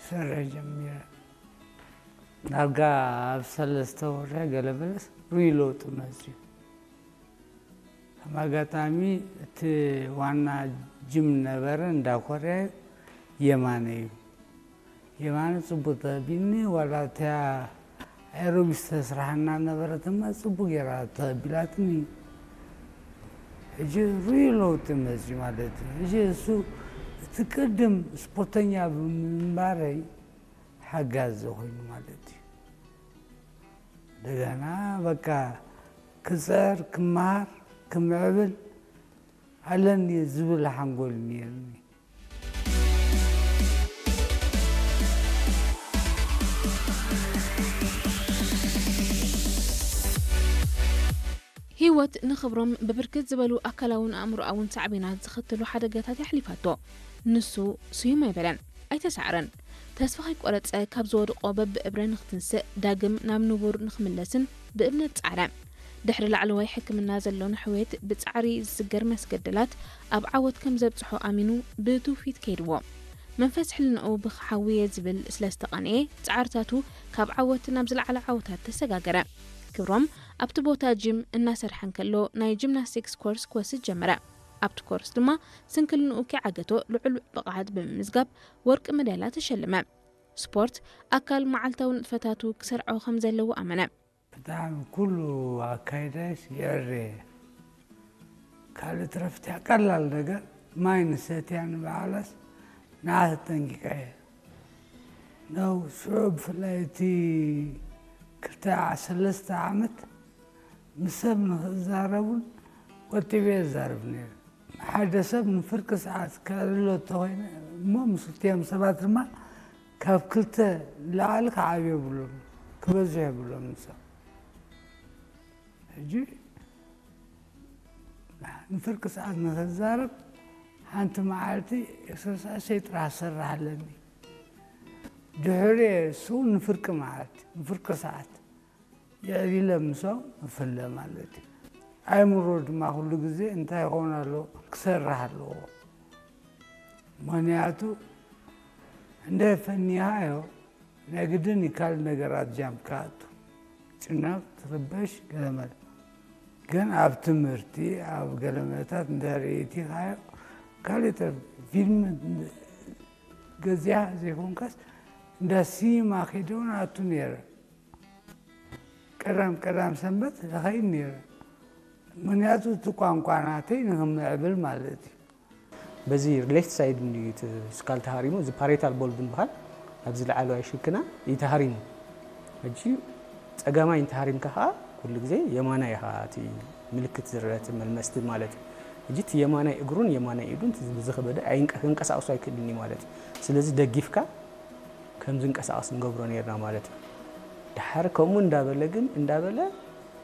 ክሰርሕ ጀሚረ። ዳርጋ ኣብ ሰለስተ ወርሒ ገለ በለስ ርኡይ ለውጢ መፅዩ። ከም ኣጋጣሚ እቲ ዋና ጅም ነበረ እንዳ ኮርያ የማነ እዩ። የማነ ፅቡቅ ተቢኒ ዋላ እቲያ ኤሮቢስ ተስራሕና ነበረት እማ ፅቡቅ ገይራ ተቢላትኒ። ሕጂ ርኡይ ለውጢ መፅዩ ማለት እዩ። ሕጂ እሱ እቲ ቅድም ስፖርተኛ ብምንባረይ ሓጋዚ ኮይኑ ማለት እዩ። እንደገና በቃ ክፅዕር ክመሃር ክምዕብል ኣለኒ ዝብል ሓንጎል ነይርኒ። ህይወት ንኽብሮም ብብርክት ዝበሉ ኣካላውን ኣእምሮኣውን ሳዕቤናት ዘኸተሉ ሓደጋታት የሕሊፋቶ። ንሱ ስዩም ኣይበለን፣ ኣይተሳዕረን። ተስፋ ከይቆረጸ ካብ ዝወድቆ በብእብረ ንኽትንስእ ዳግም ናብ ንቡር ንኽምለስን ብእምነት ጻዕረ። ድሕሪ ላዕለዋይ ሕክምና ዘሎ ንሕውየት ብጻዕሪ ዝስገር መስገደላት ኣብ ዓወት ከም ዘብጽሖ ኣሚኑ ብትውፊት ከይድዎ። መንፈስ ሕልናኡ ብኽሓውየ ዝብል ስለ ዝተቐንኤ ጻዕርታቱ ካብ ዓወት ናብ ዝለዓለ ዓወታት ተሰጋገረ። ክብሮም ኣብቲ ቦታ ጂም እናሰርሐ እንከሎ ናይ ጂምናስቲክስ ኮርስ ክወስድ ጀመረ። ኣብቲ ኮርስ ድማ ስንክልንኡ ከይዓገቶ ልዑል ብቕዓት ብምምዝጋብ ወርቂ መዳልያ ተሸልመ። ስፖርት ኣካል መዓልታዊ ንጥፈታቱ ክሰርዖ ከም ዘለዎ ኣመነ። ብጣዕሚ ኩሉ ኣካይዳሽ የዕረ ካልእ ትረፍት ቀላል ነገር ማይ ንሰትያ ንበዓላስ ንዓ ተጠንቂቀ እየ ነው ሽዑ ብፍላይ እቲ ክልተ ሰለስተ ዓመት ምስ ሰብ ንኽዛረቡን ቆጢበ እዛረብ ነይረ። ሓደ ሰብ ንፍርቂ ሰዓት ከዕልሎ እንተኾይነ እሞ ምስ ክልቲኦም ሰባት ድማ ካብ ክልተ ንላዕሊ ክዓብዩ የብሎም ክበዝሑ የብሎም ንሶም ሕጂ ንፍርቂ ሰዓት ንኽዛረብ ሓንቲ መዓልቲ ኤክሰርሳይሰይ ጥራሕ ዝሰርሕ ኣለኒ ድሕሪ እሱ ንፍርቂ መዓልቲ ንፍርቂ ሰዓት የዕሊለ ምሶም እፍለ ማለት እዩ። ኣእምሮ ድማ ኩሉ ግዜ እንታይ ይኸውን ኣለዎ ክሰርሕ ኣለዎ። ምኽንያቱ እንደ ፈኒሃዮ ናይ ግድን ይካል ነገራት ጃም ክኣቱ ጭነቕ ትርበሽ ገለመለ ግን ኣብ ትምህርቲ ኣብ ገለመለታት እንደ ርእቲ ካዮ ካልእ ተ ፊልም ገዚኣ ዘይኮንካስ እንዳ ሲኒማ ከይደውን ኣቱ ነይረ። ቀዳም ቀዳም ሰንበት ይኸይድ ነይረ። ምኽንያቱ እቲ ቋንቋ ናተይ ንኽምዕብል ማለት እዩ። በዚ ሌፍት ሳይድ እንድዩ እቲ ስካል ተሃሪሙ፣ እዚ ፓሬታል ቦልቭ ንበሃል ኣብዚ ላዕለዋይ ሽክና እዩ ተሃሪሙ። ሕጂ ጸጋማይ እንተሃሪምካ ከኣ ኩሉ ግዜ የማናይ ኢኻ እቲ ምልክት ዝረአ እቲ መልመስቲ ማለት እዩ። ሕጂ እቲ የማናይ እግሩን የማናይ ኢዱን ዝኸበደ ኣይንቀ- ክንቀሳቕሶ ኣይክእልን እዩ ማለት እዩ። ስለዚ ደጊፍካ ከም ዝንቀሳቐስ ንገብሮ ነይርና ማለት እዩ። ደሓር ከምኡ እንዳበለ ግን እንዳበለ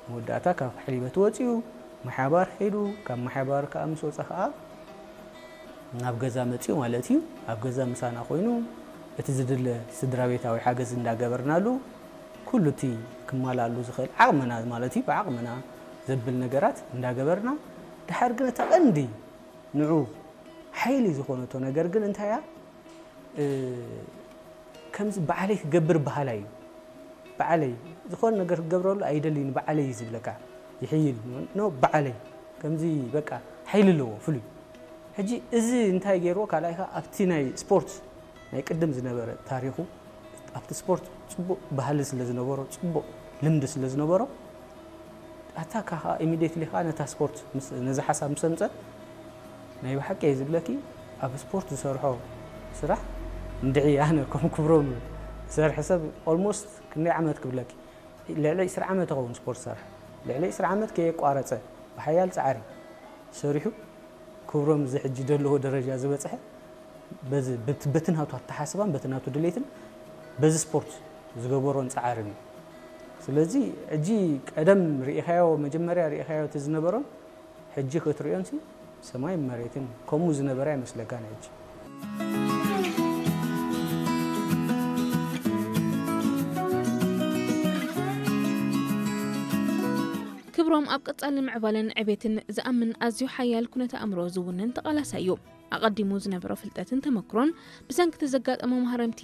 መወዳእታ ካብ ሕሊበት ወፂኡ ማሕባር ሒዱ ካብ ማሕባር ከዓ ምስ ወፀ ከዓ ናብ ገዛ መፂኡ ማለት እዩ። ኣብ ገዛ ምሳና ኮይኑ እቲ ዝድለ ስድራ ቤታዊ ሓገዝ እንዳገበርናሉ ኩሉ እቲ ክማላሉ ዝኽእል ዓቕምና ማለት እዩ ብዓቕምና ዘብል ነገራት እንዳገበርና ደሓር ግን እታ ቀንዲ ንዑ ሓይሊ ዝኾነቶ ነገር ግን እንታይ እያ? ከምዚ ባዕለይ ክገብር በሃላይ እዩ። ባዕለይ ዝኾነ ነገር ክገብረሉ ኣይደልይን ባዕለይ እዩ ዝብለካ ይሕይል ኖ ባዕለይ ከምዚ በቃ ሓይሊ ኣለዎ ፍሉይ ሕጂ እዚ እንታይ ገይርዎ ካልኣይ ከዓ ኣብቲ ናይ ስፖርት ናይ ቅድም ዝነበረ ታሪኹ ኣብቲ ስፖርት ፅቡቕ ባህሊ ስለ ዝነበሮ ፅቡቕ ልምዲ ስለ ዝነበሮ ኣታ ከዓ ኢሚዲየትሊ ከዓ ነታ ስፖርት ነዚ ሓሳብ ምስ ኣምፀ ናይ ብሓቂ እየ ዝብለኪ ኣብ ስፖርት ዝሰርሖ ስራሕ እንድዒ ኣነ ከም ክብሮም ዝሰርሐ ሰብ ኦልሞስት ክንደይ ዓመት ክብለኪ ልዕሊ ዒስራ ዓመት ይኸውን ስፖርት ዝሰርሐ ልዕሊ ዒስራ ዓመት ከየቋረፀ ብሓያል ፃዕሪ ሰሪሑ ክብሮም እዚ ሕጂ ዘለዎ ደረጃ ዝበፅሐ በዚ በቲ ናቱ ኣተሓስባን በቲ ናቱ ድሌትን በዚ ስፖርት ዝገበሮን ፃዕርን እዩ። ስለዚ ሕጂ ቀደም ርኢኻዮ መጀመርያ ርኢኻዮ እቲ ዝነበሮን ሕጂ ክትርእዮን ሲ ሰማይን መሬትን እዩ። ከምኡ ዝነበረ ኣይመስለካን ሕጂ። ክብሮም ኣብ ቀጻሊ ምዕባለን ዕቤትን ዝኣምን ኣዝዩ ሓያል ኩነተ ኣእምሮ ዝውንን ተቓላሳይ እዩ። ኣቐዲሙ ዝነበሮ ፍልጠትን ተመክሮን ብሰንኪ እቲ ዘጋጠሞ ማህረምቲ